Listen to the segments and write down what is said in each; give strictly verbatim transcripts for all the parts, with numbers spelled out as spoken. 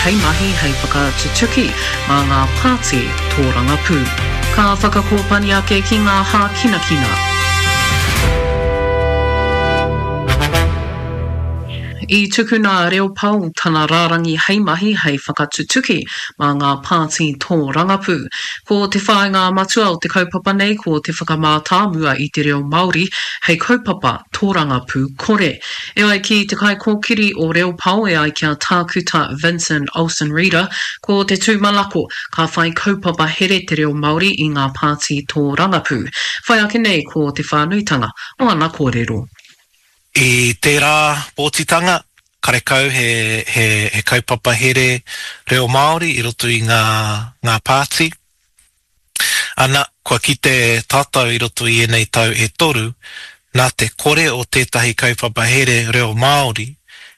hei mahi hei whakatutuki mā ngā pāti tōrangapū. Ka whakakōpani ake ki ngā hākinakina. I tukuna a Reo Pao tana rārangi hei mahi hei whakatutuki mā ngā pāti tōrangapū. Ko te whāinga matua o te kaupapa nei ko te whakamātāmua i te reo Māori hei kaupapa tōrangapū kore. E ai ki te kaikōkiri o Reo Pao e ai ki a Tākuta Vincent Olsen-Reeder, ko te tūmanako ka whai kaupapa here te reo Māori i ngā pāti tōrangapū. Whai ake nei ko te whānuitanga o ana kōrero. I tērā pōtitanga, karekau he, he, he kaupapa here reo Māori i roto i ngā, ngā pāti. Ana, kua kite tātou i roto i ēnei tau e toru, nā te kore o tētahi kaupapa here reo Māori,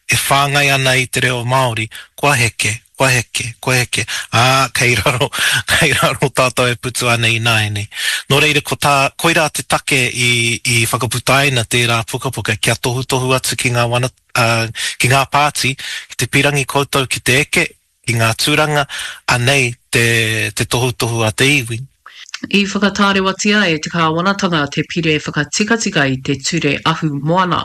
e whāngai ana i te reo Māori, kua heke, kua heke, kua heke, ā, kei raro, kei raro tātou e putu ana ināianei. Nō reira, ko tā, koirā te take i, i whakaputaina tērā pukapuka kia tohutohu atu ki ngā wana, uh, ki ngā pāti, ki te pirangi koutou ki te eke, ki ngā tūranga, anei te, te tohutohu a te iwi. I whakatārewatia e te kāwanatanga te pire whakatikatika i te ture ahu moana,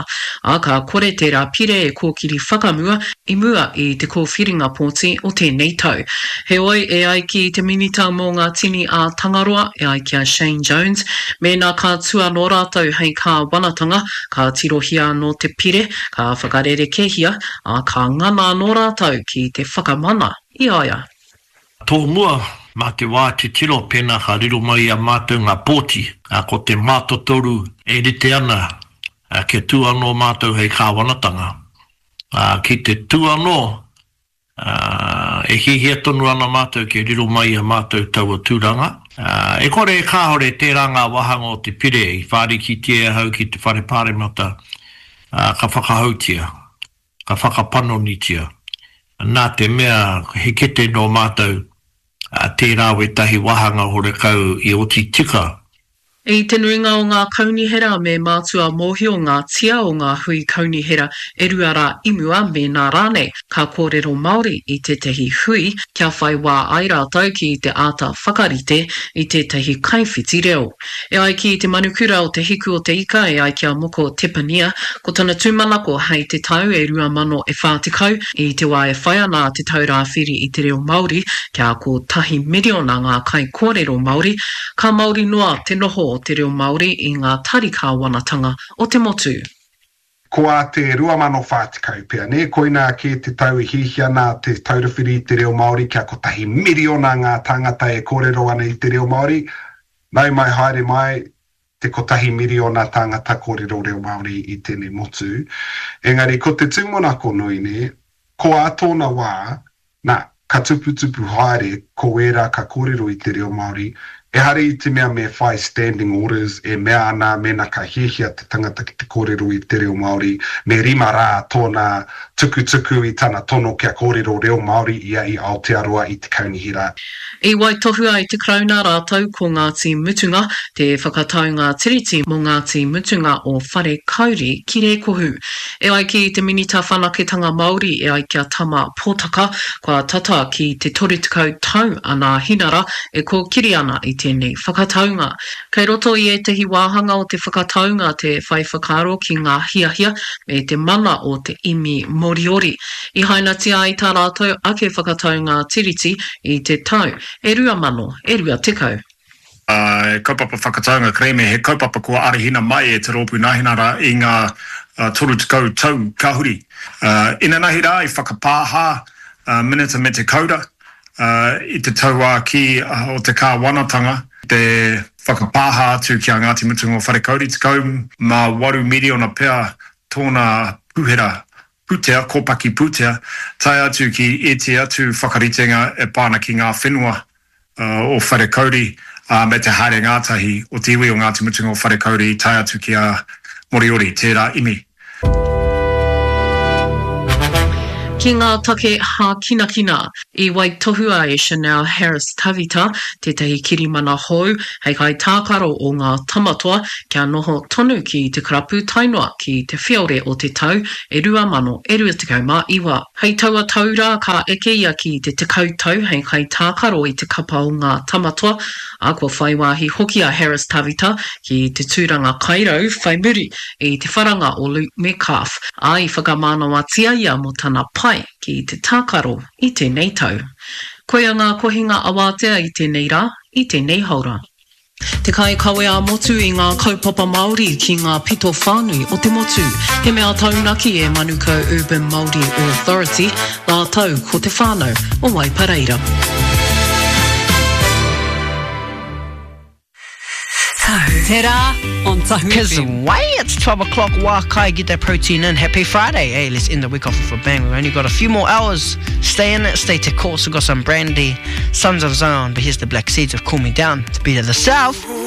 ā, ka kore tērā pire e kōkiri whakamua i mua i te kōwhiringa pōti o tēnei tau. Heoi, e ai ki te Minita mō ngā Tini a Tangaroa, e ai ki a Shane Jones, mēnā ka tū anō rātou hei kāwanatanga, ka tirohia anō te pire, ka whakarerekēhia, ā, ka ngana anō rātou ki te whakamana i a ia. Tōmua, mā te wā titiro pēnā ka riro mai i a mātou ngā pōti, ā, ko te mātotoru e rite ana, ā, kia tū anō mātou hei kāwanatanga. Ā, ki te tū anō, ā, e hiahia tonu ana mātou kia riro mai i a mātou taua tūranga. Ā, e kore e kāore tērā ngā wāhanga o te pire i whārikitia e ahau ki te Whare Pāremata, ā, ka whakahoutia, ka whakapanonitia. Nā te mea he kete nō mātou, ā, tērā wētahi wāhanga horekau i oti tika. I te nuinga o ngā kaunihera me mātua mōhio ngā tia o ngā hui kaunihera e rua rā i mua mēnā rānei ka kōrero Māori i tētahi hui kia whai wā ai rātou ki te āta whakarite i tētahi kaiwhiti reo. E ai ki te manukura o Te Hiku o te Ika e ai ki a Moko Tepania, ko tana tūmanako hei te tau e rua mano e whā tekau, i te wā e whai ana a Te Taura Whiri i te Reo Māori kia kotahi miriona ngā kaikōrero Māori, ka māori noa te noho o te reo Māori i ngā tari kāwanatanga o te motu. Ko ā te rua mano whā tekau pea, nē? Koinā kē te tau e hiahia ana Te Taura Whiri i te Reo Māori kia kotahi miriona ngā tāngata e kōrero ana i te reo Māori. Nau mai haere mai te kotahi miriona tāngata kōrero reo Māori i tēnei motu. Engari ko te tūmanako nui, nē, ko ā tōna wā, nā, ka tuputupu haere ko ērā ka kōrero i te reo Māori, ehara i te mea me whai standing orders e mea ana mēnā ka hiahia te tangata ki te kōrero i te reo Māori, me rima rā tōna tukutuku i tana tono kia kōrero reo Māori ia i Aotearoa i te kaunihera. I waitohua e te Karauna rātou ko Ngāti Mutunga te whakataunga tiriti mō Ngāti Mutunga o Wharekauri ki Rēkohu. E ai ki te Minita Whanaketanga Māori e ai ki a Tama Potaka, kua tata ki te toru tekau tau a Nāhinara e kōkiri ana i tēnei whakataunga. Kei roto i ētahi wāhanga o te whakataunga te whai whakaaro ki ngā hiahia me te mana o te imi Moriori. I hainatia ai tā rātou ake whakataunga tiriti i te tau e rua mano e rua tekau. He kaupapa whakataunga kerēme, he kaupapa kua arahina mai e Te Rōpū Nāhinara i ngā toru tekau tau ka huri. Inanahi rā i whakapāha Minita me te Kaura i te tauākī o te kāwanatanga, te whakapāha atu ki a Ngāti Mutunga o Wharekauri, tekau mā waru miriona pea tōna puhera pūtea, kōpaki pūtea, tae atu ki ētehi atu whakaritenga e pā ana ki ngā whenua o Wharekauri, ā, me te haere ngātahi o te iwi o Ngāti Mutunga o Wharekauri tae atu ki a Moriori, tērā imi. Ki ngā take hākinakina, i waitohua e Chanel Harris-Tavita tētahi kirimana hou hei kaitākaro o ngā Tamatoa kia noho tonu ki te karapu tae noa ki te whiore o te tau e rua mano e rua tekau mā iwa. Hei taua tau rā ka eke ia ki te tekau tau hei kaitākaro i te kapa o ngā Tamatoa, ā, kua whai wāhi hoki a Harris-Tavita ki te tūranga kairau whai muri i te wharanga o Luke Metcalf, ā, i whakamānawatia ia mō tana pai ki te tākaro i tēnei tau. Koia ngā kohinga awātea i tēnei rā, i tēnei haora. Te kaikawe ā-motu i ngā kaupapa Māori ki ngā pito whānui o te motu. He mea taunaki e Manukau Urban Māori Authority rātou ko te whānau o Waipareira. Te rā on Tahu Cause FM. way it's twelve o'clock, wā kai, get that protein in. Happy Friday. Hey, let's end the week off with a bang. We've only got a few more hours. Stay in it, stay to course. We've got some brandy, Sons of Zion, but here's the Black Seeds of Cool Me Down to beat of the South.